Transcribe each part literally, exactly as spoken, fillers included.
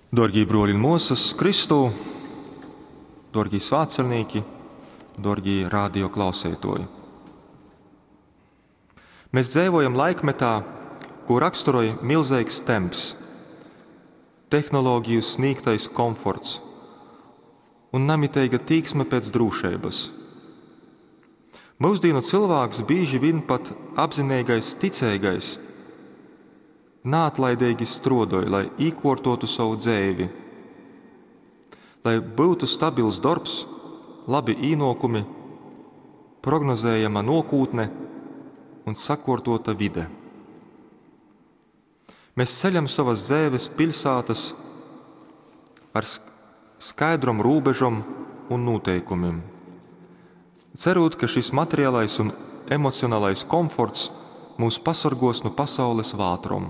Dārgie bruoli un muosas Kristū, dārgie svētceļnieki, dārgie radio klausētoji. Mēs dzīvojam laikmetā, ko raksturoj milzīgs temps, tehnoloģiju sniegtais komforts un namiteiga tīksme pēc drošības. Mūsdienu cilvēks bieži vien pat apzinīgais, ticīgais, neatlaidīgi strādāja, lai īkortotu savu dzīvi, lai būtu stabils darbs, labi īnokumi, prognozējama nokūtne un sakortota vide. Mēs ceļam savas dzīves pilsētas ar skaidrom robežom un noteikumiem. Cerot, ka šis materiālais un emocionālais komforts mūs pasargos no pasaules vātrom.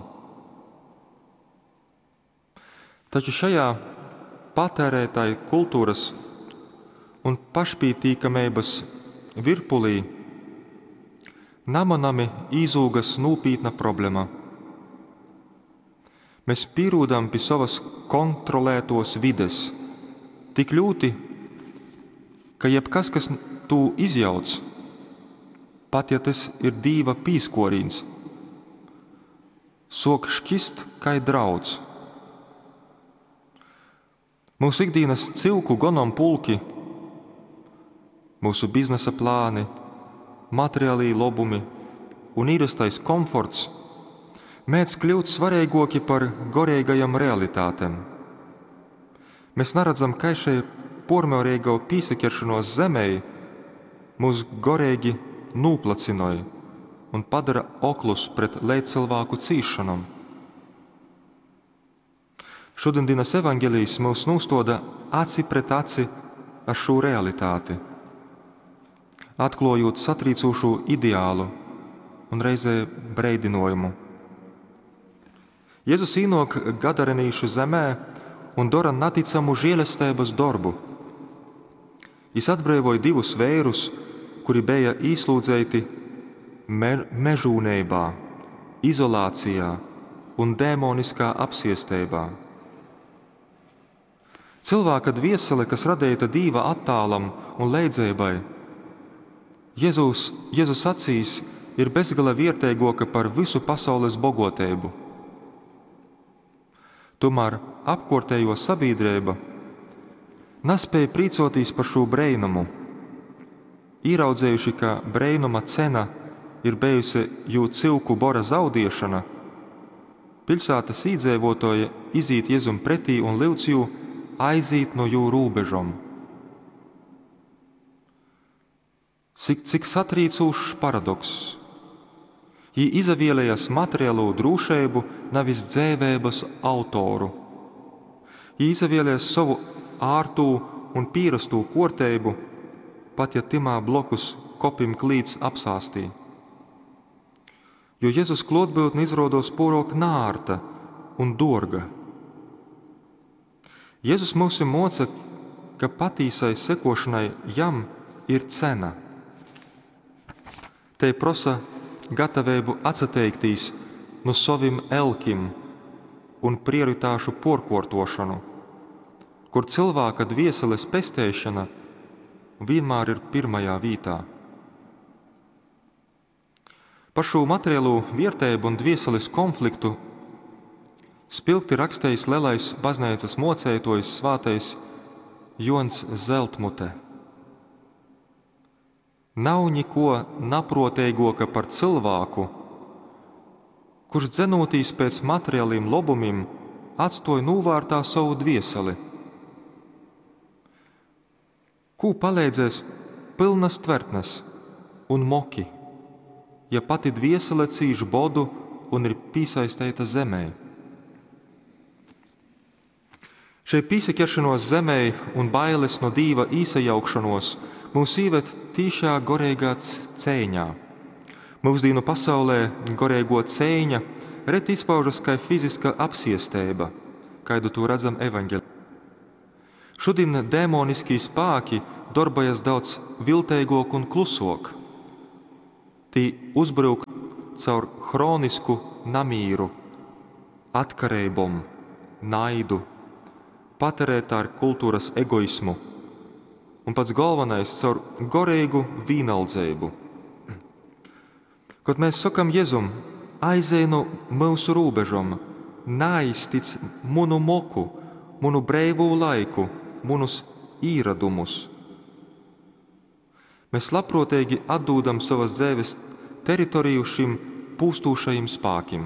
Taču šajā patērētāju kultūras un pašpītīkamības virpulī namanami īzūgas nopietna problēma. Mēs pierodam pie savas kontrolētos vides tik ļoti, ka jebkas, kas tū izjauc, pat ja tas ir dīva pīskorīns, sok šķist kai drauds. Mūsu ikdienas cilku gonom pulki, mūsu biznesa plāni, materiālī lobumi un īrastais komforts mēdz kļūt svarīgāki par gorīgajam realitātēm. Mēs neredzam, kā šai pormērīgo pīsakeršanos zemei mūs gorīgi nūplacinoja un padara oklus pret lejcilvāku cīšanom. Šodienas evaņģēlijs mūs nostoda aci pret aci ar šo realitāti, atklājot satrīcošo ideālu un reizē breidinojumu. Jēzus īnok Gadarenīšu zemē un dara neticamu žēlestības darbu. Jis atbrīvoja divus vērus, kuri bija īslūdzēti me mežūneibā, izolācijā un dēmoniskā apsiestībā. Cilvēka dviesele, kas radīta Dīva attālam un leidzēbai, Jēzus, Jēzus acīs ir bezgala vierteigoka par visu pasaules bogotību. Tomēr apkortējo sabiedrība nespēja prīcoties par šo breinumu. Īraudzējuši, ka breinuma cena ir bijusi jū cilku bora zaudiešana, pilsētas īdzēvotoja izīt Jēzum pretī un lūdz jū aiziet no jū robežom. Cik, cik satrīcošs paradoks. Jī izavēlējas materiālo drošību, nevis dzēvēbas autoru. Jī izavēlējas savu ārtū un pīrastū korteibu, pat ja timā blokus kopim klīts apsāstī. Jo Jēzus klotbūtne izrodos porok nārta un dorga. Jēzus mūs moca, ka patīsai sekošanai jam ir cena. Te prosa gatavību atsateikties no savim elkim un prioritāšu porkortošanu, kur cilvēka dvieseles pestēšana vienmēr ir pirmajā vītā. Par šo materiālo vērtību un dvieseles konfliktu spilgti rakstījis lielais baznīcas mocētojs svātais Jons Zeltmute. Nav niko naprotīgoka par cilvēku, kurš dzenotīs pēc materiāliem lobumiem, atstoja novārtā savu dvieseli. Kū palīdzēs pilnas tvertnes un moki, ja pati dviesele cīš bodu un ir piesaistīta zemē? Šai piesakeršanos zemē un bailes no dīva īsajaukšanos mūs īved tīšā gorīgā cēņā. Mūsdienu pasaulē gorīgo cēņa reti izpaužas kā fiziska apsiesteiba, kādu to redzam evaņģēlijā. Šodien dēmoniskie spēki darbojas daudz viltīgāk un klusāk. Tī uzbruk caur hronisku namīru, atkarībom, naidu, patērētāju kultūras egoismu un pats galvenais caur goreigu vīnaldzeibu. Kod mēs sokam Jezum, aizej nu myusu rūbežom, naaiztic munu moku, munu breivū laiku, munus īradumus. Mēs labprōteigi atdūdam sovas dzeives teritoriju šim pūstūšajim spākim.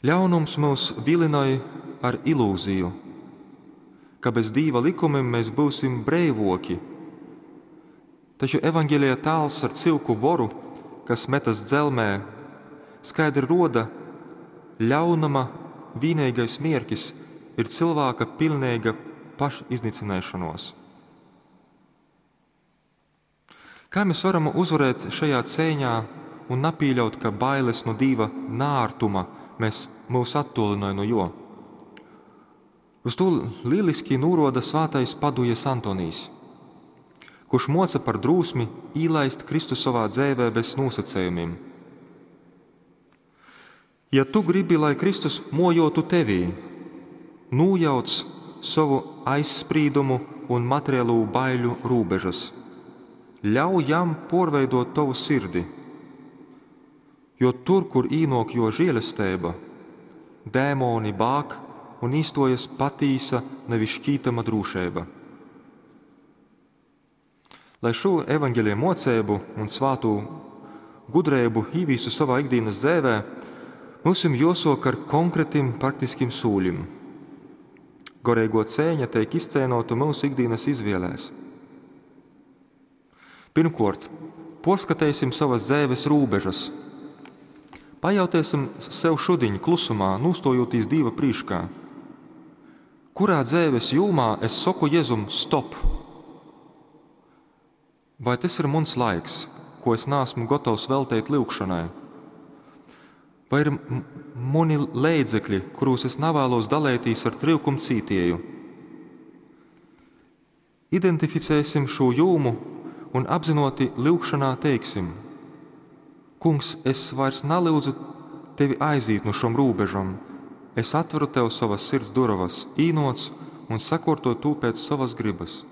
Ļaunums myus vilinoj ar ilūziju, ka bez Dīva likumim mēs būsim breivoki. Taču evaņģēlija tāls ar cyuku boru, kas metas dzelmē, skaidri roda, ļaunuma vienīgais mierkis ir cilvēka pilnīga pašiznīcināšanos. Kā mēs varam uzvarēt šajā cīņā un nepieļaut, ka bailes no Dieva nārtuma mēs mūs attolinoj no jo? Uz to lieliski nūroda svātais Padujas Antonijs, kurš moca par drūsmi īlaist Kristu savā dzēvē bez nosacējumiem. Ja tu gribi, lai Kristus mojotu tevī, nojauc savu aizsprīdumu un materiālo baiļu rūbežas. Ļauj jam porveidot tavu sirdi, jo tur, kur īnok jo žēlestība, dēmoni bāk un īstojas patīsa, nevis šķītama drūšība. Lai šo evaņģēlija mocību un svātu gudrību īvīstu savā ikdienas dzēvē, mums ir jāsok ar konkrētiem praktiskiem sūļiem. Goreigo cēņa tiek izcēnota mūsu ikdienas izvēlēs. Pirmkārt, porskatēsim savas dzēves rūbežas. Pajautēsim sev šudiņ klusumā, nūstojoties Dieva prīškā. Kurā dzēves jūmā es saku Jezum stop? Vai tas ir mans laiks, ko es neesmu gatavs veltīt lūgšanai? Vai ir mani leidzekļi, kuros es nevēlos dalīties ar tryukumu cītieju? Identificēsim šo jūmu un apzinoti lūgšanā teiksim: Kungs, es vairs nelūdzu tevi aiziet no šom rūbežam, es atveru tev savas sirds durovas, īnoc un sakorto tu pēc savas gribas.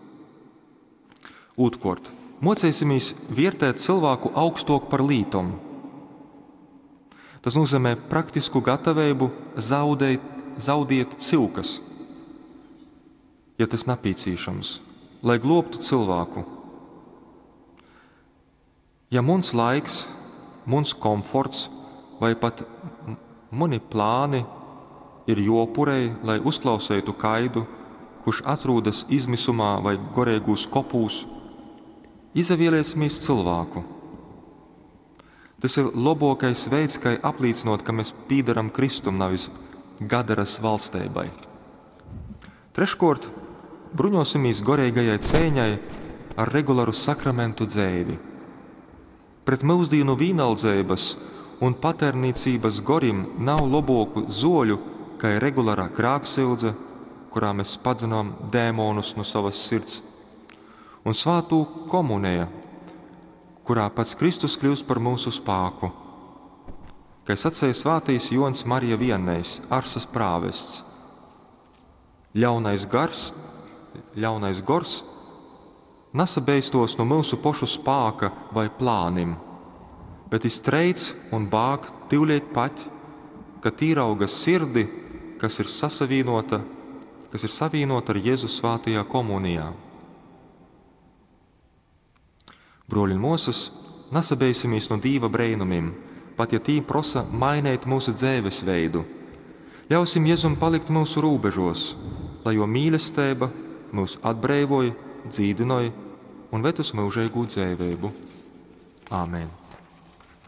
Otrkārt, mocēsimies vērtēt cilvēku augstok par lītom. Tas nozīmē praktisku gatavību zaudēt, zaudēt cilkas, ja tas nepieciešams, lai globtu cilvēku. Ja muns laiks, muns komforts vai pat mani plāni ir jopurei, lai uzklausītu kaidu, kurš atrodas izmisumā vai goreigūs kopūs, izavieliesimies cilvēku. Tas ir labākais veids, kā apliecinot, ka mēs pīdaram Kristum, nevis Gadaras valstībai. Treškārt, bruņosimies goreigajai cēņai ar regularu sakramentu dzēvi. Pret mūsdienu vīnaldzības un paternīcības gorim nav laboku zoļu, kā ir regulārā grāksildze, kurā mēs padzinām dēmonus no savas sirds, un svātū komunija, kurā pats Kristus kļūst par mūsu spāku. Kā sacīja svātīs Jons Marija Viennejs, Arsas prāvests. Ļaunais gars, ļaunais gors nesabeistos no mūsu pošu spāka vai plānim, bet iztreic un bāk tivliet pat, ka tīrauga sirdi, kas ir sasavīnota, kas ir savīnota ar Jēzu svātajā komunijā. Broļi un mūsas, nesabeisimies no Dīva brēnumim, pat ja tī prosa mainīt mūsu dzēves veidu. Ļausim Jēzum palikt mūsu rūbežos, lai jo mīlestība mūs atbrīvoja, dzīdinoja un ved uz mūžīgu dzīvību. Āmen!